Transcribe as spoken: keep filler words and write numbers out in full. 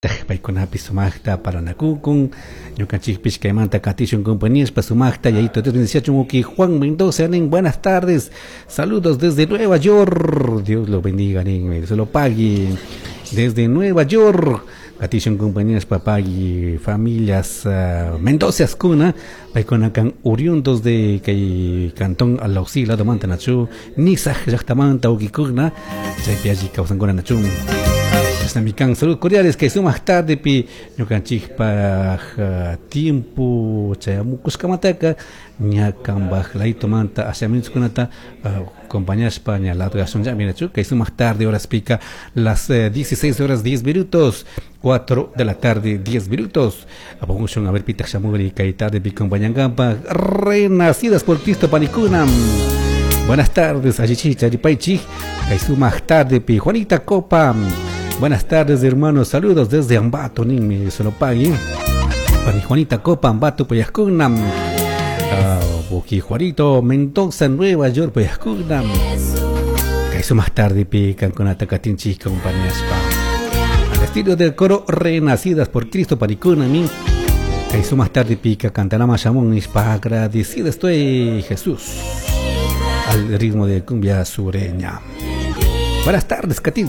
Paykunapi sumaqta paranakukun ñukanchikpish kaymanta katishun compañías sumaqta yayito Dios bendeciachun. Uki Juan Mendoza nin: "Buenas tardes, saludos desde Nueva York. Dios lo bendiga", nin, se lo pague desde Nueva York. Katishun compañías papagui familias uh, Mendoza kuna paykuna kan oriundos de kay cantón Alausí lado manta nachu Nizag llaqtamanta ukikuna chaypi alli kawsankuna nachu. Chashnami saludos cordiales kay sumaq tarde pi ñukanchikpaj uh, tiempo chayamukushkamantaka ña kanpaj laytumanta asha minutos kunata uh, acompañashpa ña largashunllami nachu kay sumaq tarde horas pica las eh, dieciséis horas diez minutos, cuatro de la tarde diez minutos. Apamushun a ver pitaq shamuri kay tarde pi acompañankampa. Renacidas por Cristo panikuna, buenas tardes, allichicha allipaychik kay sumaq tarde pi. Juanita Copa: "Buenas tardes, hermanos, saludos desde Ambato", ninmi se lo pague. Pani Juanita Copa, Ambato payajkuna. Uh, Juanito Mendoza, Nueva York payajkuna. Kay sumaq tarde pi kankunata katinchik compañías pa. Al estilo del coro Renacidas por Cristo panikuna mi. Kay sumaq tarde pica cantarama shamun nispa "Agradecido estoy, Jesús". Al ritmo de cumbia sureña. Buenas tardes, katinchik.